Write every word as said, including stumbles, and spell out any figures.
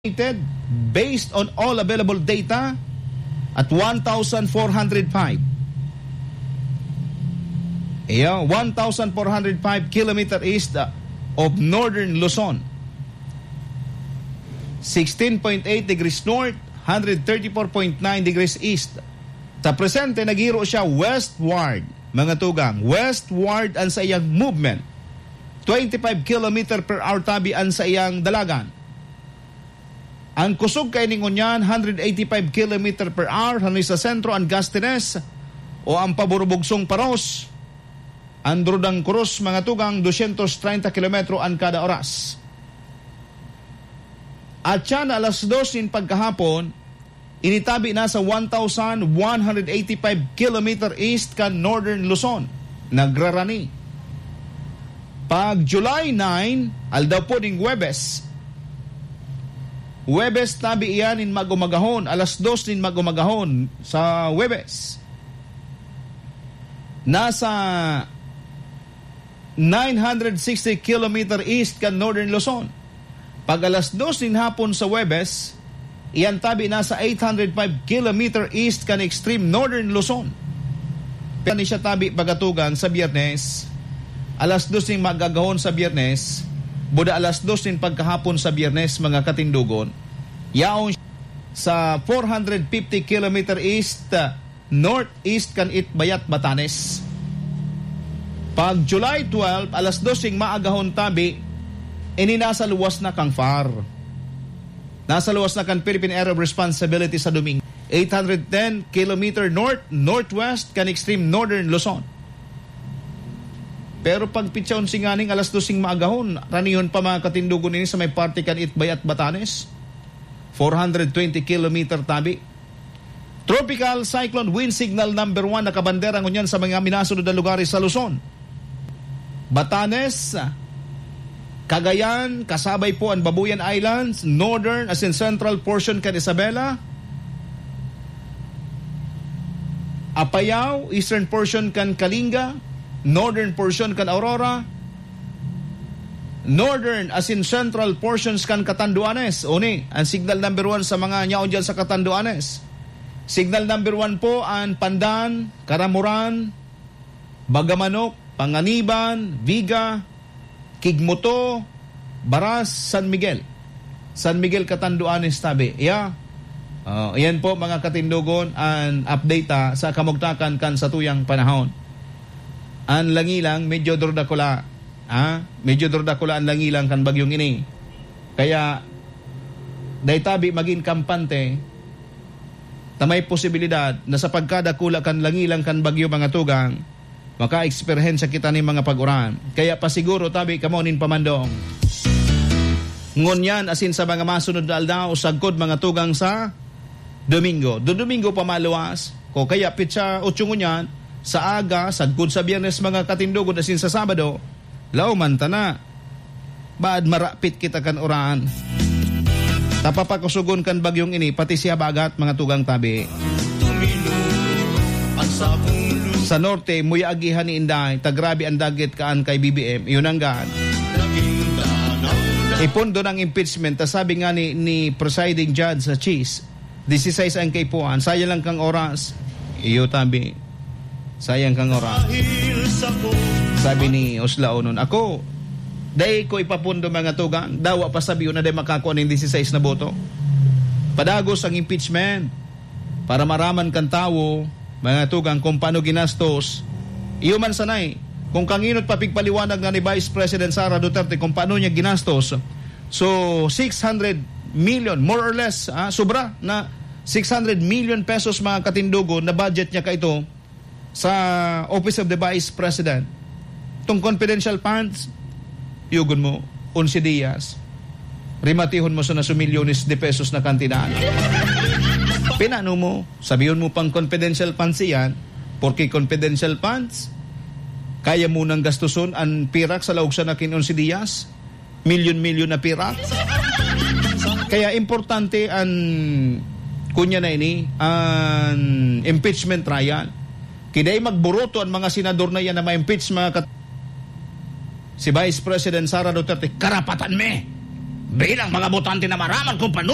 Based on all available data, at one thousand four hundred five. Iyo, one thousand four hundred five kilometer east, uh, of northern Luzon. Sixteen point eight degrees north, hundred thirty-four point nine degrees east. Sa presente, naghiro siya westward, mga tugang. Westward ang saiyang movement. Twenty-five kilometer per hour tabi ang saiyang dalagan. Ang kusog kaini ngunyan, hundred eighty-five kilometer per hour, hanoy sa sentro an gustiness o ang paburubugsong paros. Ang drudang krus, mga tugang, dosyentos treinta kilometro an kada oras. At siya na alas dos nin pagkahapon, initabi na sa one thousand one hundred eighty-five kilometer east kan Northern Luzon, nagrarani. Pag July nine, aldaw po ning Huwebes, Huwebes tabi iyan nin mag-umagahon, alas dos nin mag-umagahon sa Huwebes. Nasa nine hundred sixty kilometer east kan Northern Luzon. Pag alas dos nin hapon sa Huwebes, iyan tabi nasa eight hundred five kilometer east kan extreme Northern Luzon. Pero ni siya tabi pagatugang sa Biyernes, alas dos nin mag-agahon sa Biyernes, buda alas dos nin pagkahapon sa Biyernes, mga katindogon. Yaon sa four hundred fifty kilometer east, northeast kan Itbayat, Batanes. Pag July twelve, alas dos nin maagahon tabi, ini nasa luwas na kan far. Nasa luwas na kan Philippine Area of Responsibility sa Domingo. Eight hundred ten kilometer north-northwest kan extreme northern Luzon. Pero pag pitsa onse nganing alas dos nin maagahon, ranihon pa, mga katindogon, ini sa may parte kan Itbayat, Batanes. Four hundred twenty kilometer tabi. Tropical Cyclone Wind Signal number one nakabandera ngunyan sa mga minasunod na lugares sa Luzon. Batanes, Cagayan, kasabay po an Babuyan Islands, northern as in central portion kan Isabela, Apayao, eastern portion kan Kalinga, northern portion kan Aurora, northern as in central portions kan Catanduanes. Uni, ang signal number one sa mga nyaon dyan sa Catanduanes. Signal number one po ang Pandan, Caramoran, Bagamanok, Panganiban, Viga, Quigmoto, Baras, San Miguel. San Miguel, Catanduanes tabi. Yeah. Oh, yan po, mga katindogon, an update ta sa kamugtakan kan satuyang panahon. An langilang medyo durdakula. Ha? Medyo durdakula an langilang kan bagyong ini. Kaya, dai tabi magin kampante, ta may posibilidad na sa pagkadakula kan langilang kan bagyo, mga tugang, makaeksperyensya kita nin mga pag-uran. Kaya pasiguro tabi kamo nin pamandong. Ngunyan asin sa mga masunod na aldaw, sagkod, mga tugang, sa Domingo. Dodomingo pa maluwas, o kaya pitsa otso ngunyan, sa aga, sagkod sa Biyernes, mga katindogon, asin sa Sabado, lauman ta na. Baad marapit kita kan uran. Ta papakusogon kan bagyong ini, pati si habagat, mga tugang tabi. Sa norte, muya agihan ni Inday, ta grabe an dagit kaan kay B B M. Iyo nanggad. Ipondo ng impeachment, ta sabi nga ni, ni presiding judge sa Cheese, dieciséis ang kaipuhan. Sayang lang kang oras. Iyo tabi. Sayang kang oras. Sabi ni Oslaonon, "Ako, dai ko ipapondo, mga tugang. Dawa pa sabiyon na dai makakua nin dieciséis na boto." Padagos ang impeachment para maraman kan tawo, mga tugang, kung paano ginastos. Iyo man sanay, kung kanginot pa pigpaliwanag na ni Vice President Sara Duterte kung paano niya ginastos. So, six hundred million, more or less, ah, sobra na six hundred million pesos, mga katindogon, na budget niya kaito sa Office of the Vice President. Itong confidential funds, yugon mo, onse diyas, rimatihon mo sa na su milyones de pesos na kantidad. Pinano mo, sabihon mo pang confidential funds iyan, porque confidential funds, kaya mo nang gastuson an pirak sa laog sa nakin onse diyas, milyon-milyon na pirak. Kaya importante an, kunya na ini, an impeachment trial. Kiday magburoto an mga senador na iyan na ma-impeach, mga kat-, si Vice President Sara Duterte, karapatan mi. Bilang mga botante na maraman kung paano